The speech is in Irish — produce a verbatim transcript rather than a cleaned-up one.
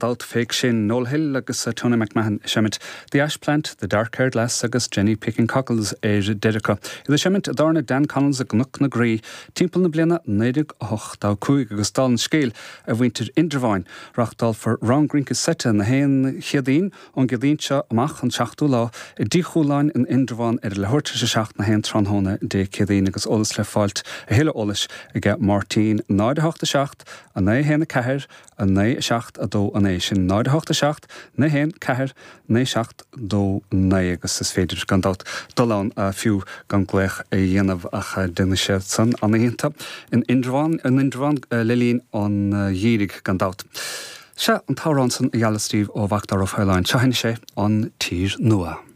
dabht fé sin Noel Hill agus uh, Tony McMahon seimint The Ash Plant, The Dark Haired Lass agus Jenny Picking Cockles ar deireadh. Iad ag seimint i dtábhairne Dan Connell's i gCnoc na Graí timpeall na bliana naoi déag ochtó cúig agus dála an scéil a mhuintir Indreabháin reáchtálfar rang rince seite na haon Chéadaoin ón gCéadaoin seo amach an seachtú lá i dTigh Chualáin in Indreabhán ar leathuair tar éis a seacht na haon tráthnóna Dé Céadaoin agus eolas le fáilt a thuilleadh eolais aige Máirtín náid a hocht a seacht a naoi haon a ceathair a naoi a seacht a dó a naoi sin náid a hocht a seacht naoi haon ceathair naoi seacht dó naoi agus is féidir gan dabht dul ann fiú gan glaoch a dhéanamh ach déanfaidh sé san an-iontach in Indreabhán in Indreabhán le linn an gheimhridh gan dabht. Sea an t-amhrán san a gheallas daoibh ó Mhacdara Ó Faoláin seo sé an Tír Nua.